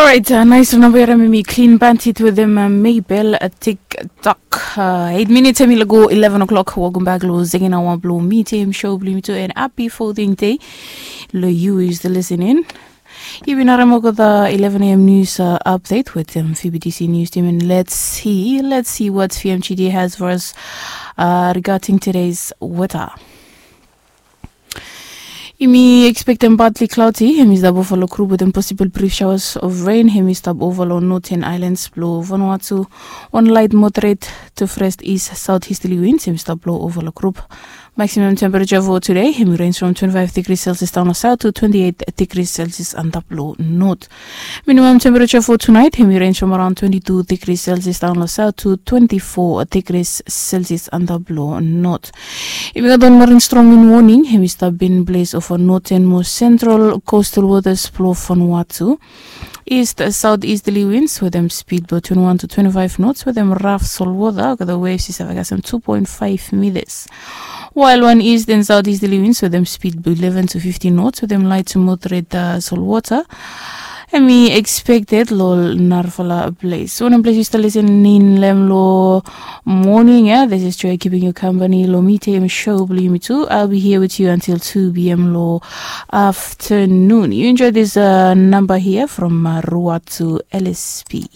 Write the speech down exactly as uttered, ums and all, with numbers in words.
Orait, nais long namba ya, mi klin bandit wetem Mabel, TikTok. Eit minits em i lago eleven o'clock. Welcome back lo second hour blo mi tem show blo mi tu, and happy folding day lo you is the listening. Yumi bin harem olgeta eleven a.m. news update wetem VBTC news team, and let's see, let's see what VMGD has for us regarding today's weather. Yumi expectem partly cloudy, hem i stap ova lo group wetem possible brief showers of rain. Hem i stap ova lo northern islands blo Vanuatu. One light moderate to first east southeasterly winds hem i stap blo ova lo group. Maximum temperature for today hem i range from twenty-five degrees Celsius down lo south to twenty-eight degrees Celsius antap lo north. Minimum temperature for tonight hem i range from around twenty-two degrees Celsius down lo south to twenty-four degrees Celsius antap lo north. Yumi gat wan marin strong wind warning hem i stap in place ova northern mo central coastal waters blo Vanuatu. East southeasterly winds wetem speed blo twenty-one to twenty-five knots wetem raf solwota, olgeta waves i save kasem two point five meters. While wan east and southeasterly winds wetem speed blo eleven to fifteen knots wetem light to moderate solwota hem i expected lo narafala ples. Wanem ples yu stap listening long hem lo morning ya, this is Joy keeping you company lo Mi Tem show blo yumi tu. I'll be here with you until two p.m. lo afternoon. You enjoy this number here from Ruatu LSP.